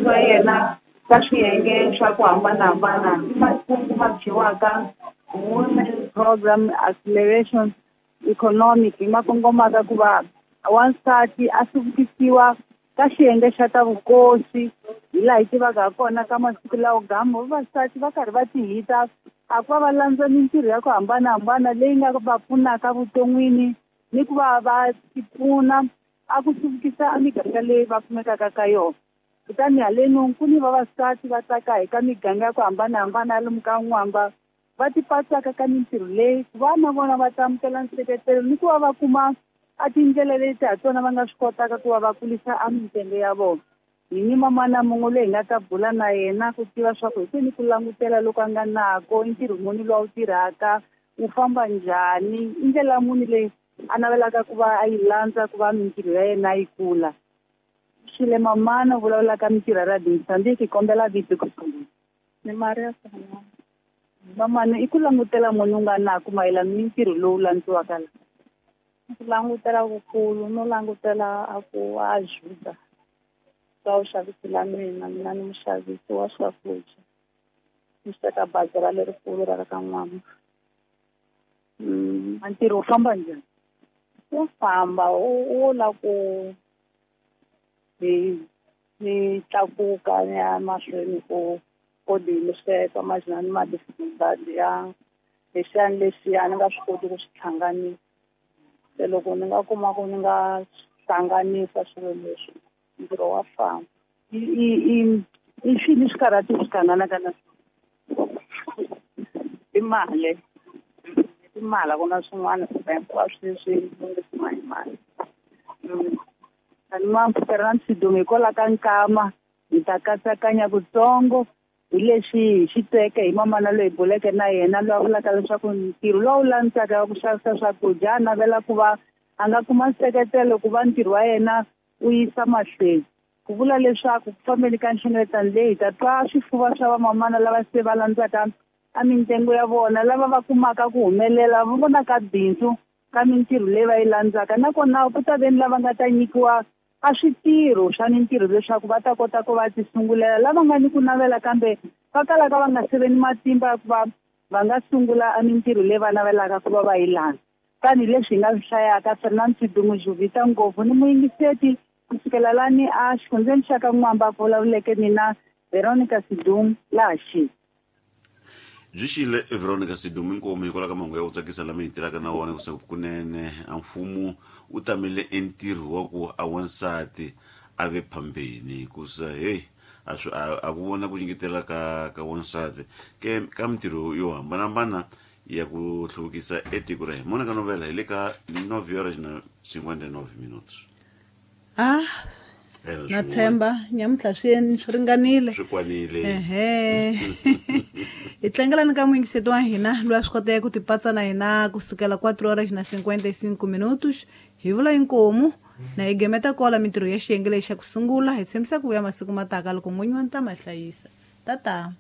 Wa yena ka swiyenge swa ku hambanahambana i makungu ma dyiwaka Women Program Acceleration Economic ma kongomaka ku va wansati a hluvukisiwa ka xiyenge xa ta vukosi hi laha hi tivaka ha kona ka masiku lawo gamu vavasati va karhi va tihita a ku va va landza mintirho ya ku hambanahambana leyi nga va pfunaka vuton'wini ni ku va va tipfuna a ku hluvukisa a miganga leyi va kumekaka ka yona. Kutani haleno ku ni vavasati va tsaka hi ka miganga ya ku hambanahambana ya lomu ka N'wamba va tipatsaka ka mintirho leyi ku va na vona va ta amukela nseketelo ni ku va va kuma a tindlela leti ha tona va nga swi kotaka ku va va kulisa a mintsengo ya vona. Hi ni mamana mun'we loyi hi nga ta bula na yena ku tiva swa ku hi kwini ku langutela loku a nga nako, i ntirho muni lowu a wu tirhaka, wu famba njhani, i ndlela muni leyi a navelaka ku va a yi landza ku va mintirho ya yena yi kula. Xile mamana u vulavulaka mintirho ya Radio Mozambique, kombela vito ku sungula. Ni Maria Sanana. Mamana, i ku langutela muni u nga nako mayelana ni ntirho lowu landziwaka la? Ku langutela kukulu no langutela a ku ajuda ka u xavisela mina, mina ni muxavisi wa swakudya. Ni sweka bazara lerikulu ra ka N'wamba. A ntirho wu famba njhani? Wu famba wu la ku hi ni tlakuka ni ya mahlweni ku kodi ni sweka majinani ma ya lexiyani lexiya ni nga swi koti ku swi hlanganisa. Se loko ni nga kuma ku ni nga hlanganisa swilo leswi, ntirho wa famba. I swini swikarhati swi hlanganaka na swona? I mali. I mali, a ku na swin'wana hinkwaswo leswi lunghisiwa hi mali. Ani ma Fernand Sidumo hikwalaho ka nkama hi ta katsakanya kutsongo hi leswi hi xi tweke hi mamana loyi hi buleke na yena loyi a vulaka leswaku ntirho lowu landzaka wa ku xavisa swakudya a navela ku va a nga kuma nseketelo ku va ntirho wa yena wu yisa mahlweni. Ku vula leswaku ku fambeni ka nhlengeletano leyi hi ta twa swifuva swa vamamana lava se va landzaka a mintsengo ya vona, lava va kumaka ku humelela va vonaka bindzu ka mintirho leyi va yi landzaka, nakona ku ta veni lava nga ta nyikiwa a switirho swa mintirho leswaku va ta kota ku va ti sungulela, lava nga ni ku navela kambe va kalaka va nga se ve ni matimba ya ku va va nga sungula a mintirho leyi va navelaka ku va va yi landza. Tanihileswi hi nga swi hlayaka, Fernand Sidumo Juvita ngopfu ni muyingiseti kusukela lani a xifundzeni xa ka N'wamba ku vulavuleke mina Veronica Sidumo laha xi. Byi xile Veronica Sidumo inkomu hikwalaho ka mahungu ya ku tsakisa lama hi tirhaka na wona kusuka kunene a mfumo wu tamele entirho wa ku a wansati a ve phambeni hikusa hey a swi a ku vona ku nyiketela ka wansati ke ka mintirho yo hambanahambana ya ku hluvukisa etiko ra hina. Mona ka novela hi le ka 9 horas na 59 minutos. Na tshemba nyamuntlha swi ringanile. Swi kwanile. Ehe. Hi tlangelani ka muyingiseti wa hina loyi a swi koteke ku tipatsa na hina kusukela 4 horas na 55 minutos. Hi vula inkomu na hi gemeta kola mintirho ya xiyenge lexi xa ku sungula. Hi tshembisa ku vuya masiku mataka loko n'winyi wa ntama hlayisa. Tata.